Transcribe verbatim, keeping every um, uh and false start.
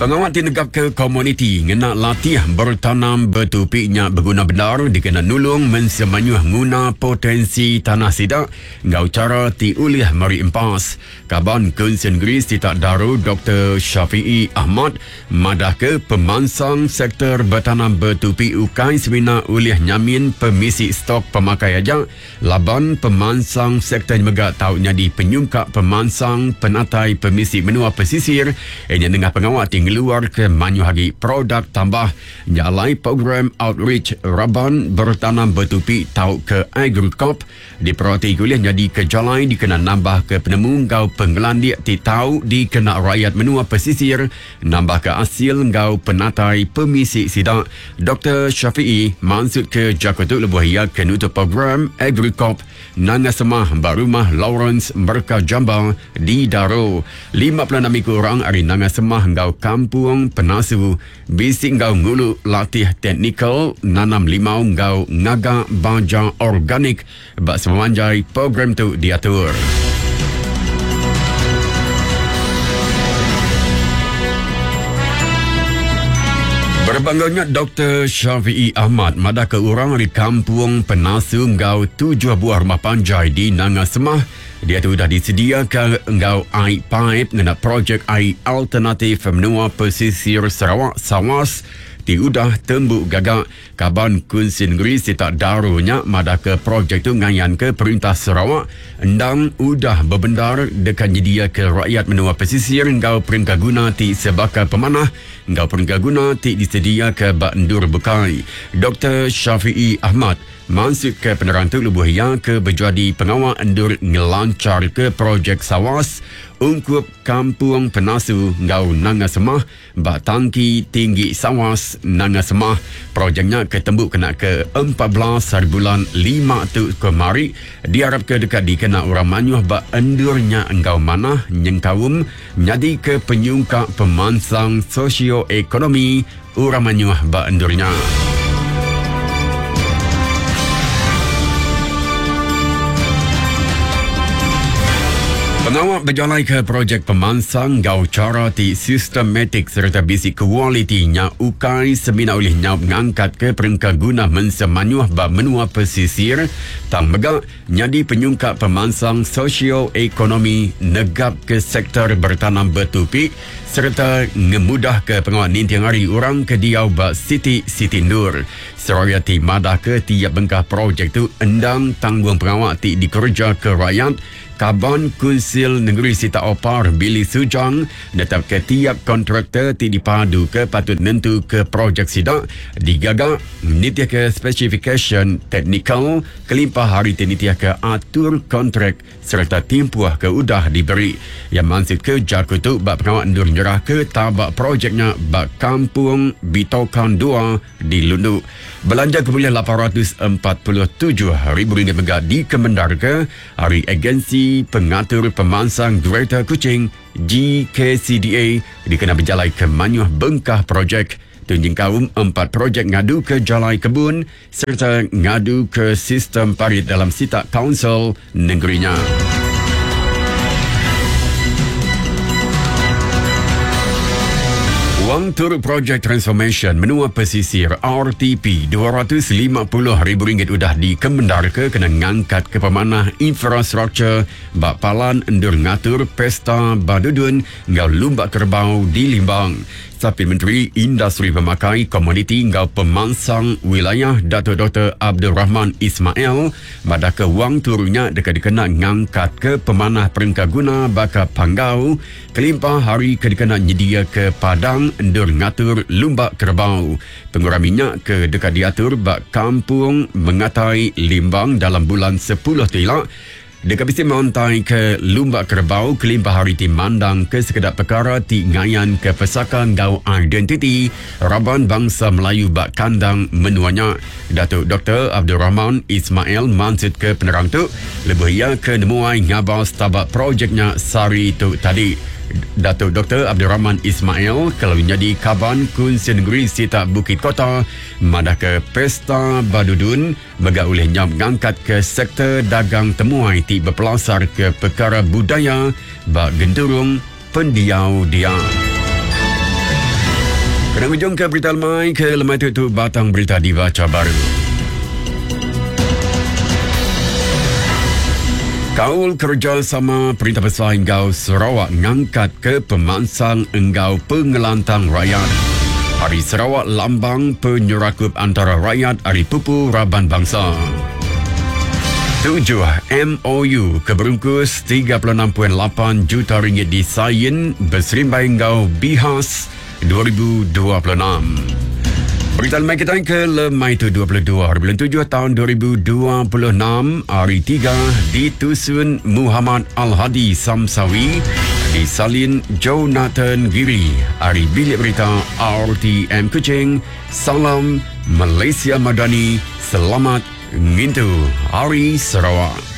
Pengawal tinegap ke komuniti ngena latih bertanam betupinya berguna benar dikena nulung mensemanyuh nguna potensi tanah sidak ngau cara ti ulih meri empas. Kaban Kunsin Negeri Sitak Daro Doktor Syafiee Ahmad madah ke pemansang sektor bertanam betupi ukai semina ulih nyamin pemisi stok pemakai aja laban pemansang sektor mega tau nyadi penyungkak pemansang penatai pemisi menua pesisir ianya nengah pengawal ti ngeluar ke manyuh agi produk tambah nyalai program outreach raban bertanam betupi tau ke Agricop diperhati kuliah jadi ke jalai dikena nambah ke penemu ngau pengelandik ti tau dikena rakyat menua pesisir nambah ke hasil ngau penatai pemisi sidak. Doktor Syafiee maksud ke Jakarta lebuh ia ke nutup program Agricop Nanga Semah ba rumah Lawrence Merka Jamba di Daro. lima puluh enam ekor orang ari Nanga Semah ngau Kampung Penasu bisi ngau ngulu latih teknikal nanam limau ngau ngaga baja organik bak semanjai program tu diatur. Berbangganya Doktor Syafiee Ahmad madah ke orang di Kampung Penasu ngau tujuh buah rumah panjai di Nanga Semah dia tu dah disediakan ngau air pipe ngena projek air alternatif menua pesisir Sarawak Sawas ti udah tembuk gagak. Kaban Kunsin Negeri Sitak Daro nya madah ke projek tu ngayan ke Perintah Sarawak endang udah berbendar dekat nyedia ke rakyat menua pesisir ngau perengka guna ti sebaka pemanah ngau perengka guna ti disedia ke bak endur bukai. Doktor Syafiee Ahmad maksud ke penerang tu lebuh ia ke berjadi pengawal endur ngelancar ke projek Sawas ungkup Kampung Penasu ngau Nanga Semah bak tangki tinggi Sawas Nanga Semah. Projeknya ketemu kena ke empat belas hari bulan lima tu kemari diharap ke dekat dikena orang manyuh bak endurnya engkau manah nyengkaum nyadi ke penyungkak pemansang sosioekonomi orang manyuh bak endurnya. Pengawal berjalan ke projek pemansang gau cara ti sistematik serta bisi kualitinya ukai semina oleh nyau ngangkat ke perengka guna mensemanyuh ba menua pesisir tang mega nyadi penyungkak pemansang sosioekonomi negap ke sektor bertanam betupi serta ngemudah ke pengawal ninting hari orang ke diau ba Siti Siti Nur. Seraya ti madah ke tiap bengkah projek tu endang tanggung pengawal ti dikerja ke rakyat. Kaban Kunsil Negeri Sitak Opar Billy Sujang netap ke tiap kontraktor ti dipadu ke patut nentu ke projek sidak digagak nitih ke specification teknikal kelimpah hari ti nitih ke atur kontrak serta timpuh ke udah diberi. Yang maksud ke jaku tu bak pengawal endur nyerah ke tabak projeknya bak Kampung Bitokan dua di Lundu. Belanja kemuliaan lapan ratus empat puluh tujuh ribu ringgit mega dikemendar ke hari Agensi Pengatur Pemansang Greater Kuching G K C D A dikena berjalai ke manyuh bengkah projek tunjing kaum empat projek ngadu ke jalai kebun serta ngadu ke sistem parit dalam sitak kaunsil negerinya. Wang turut projek transformation menua pesisir R T P dua ratus lima puluh ribu ringgit udah dikemendar ke kena ngangkat ke pemanah infrastruktur bak palan endur ngatur pesta badudun ngau lumba kerbau di Limbang. Sapit Menteri Industri Pemakai Komoditi ngau Pemansang Wilayah Datuk Doktor Abdul Rahman Ismail madah ke wang turunnya dekat dikena ngangkat ke pemanah perengka guna baka panggau kelimpah hari ke dikena nyedia ke padang endur ngatur lumba kerbau. Pengurang minyak ke dekat diatur bak Kampung Mengatai Limbang dalam bulan sepuluh tu Dekat bisi montai ke lumba kerbau kelimpah hari ti mandang ke sekedar perkara ti ngayan ke pesaka ngau identiti raban bangsa Melayu bak kandang menuanya. Datuk Doktor Abdul Rahman Ismail maksud ke penerang tu lebih ia ke nemuai ngabas tabak projeknya sari tu tadi. Datuk Doktor Abdul Rahman Ismail kalau jadi kaban Kunsin Negeri Sitak Bukit Kota madah ke Pesta Badudun mega oleh nyam ngangkat ke sektor dagang temuai ti berpelasar ke perkara budaya bak genturung pendiau dia. Kena ujung ke berita lemai ke lemai tu, tu batang berita dibaca baru. Kaul kerjasama Perintah Besai Enggau Sarawak ngangkat ke pemansang enggau pengelantang rakyat. Hari Sarawak lambang penyerakup antara rakyat ari pupu raban bangsa. Tujuh M O U keberungkus tiga puluh enam perpuluhan lapan juta ringgit disain berserimbai enggau Bihas dua ribu dua puluh enam. Berita lemai kita ke lemai tu dua puluh dua hari bulan tujuh tahun dua ribu dua puluh enam hari tiga ditusun Muhammad Al-Hadi Samsawi, disalin Jonathan Giri ari Bilik Berita R T M Kuching. Salam Malaysia Madani, selamat ngintu Hari Sarawak.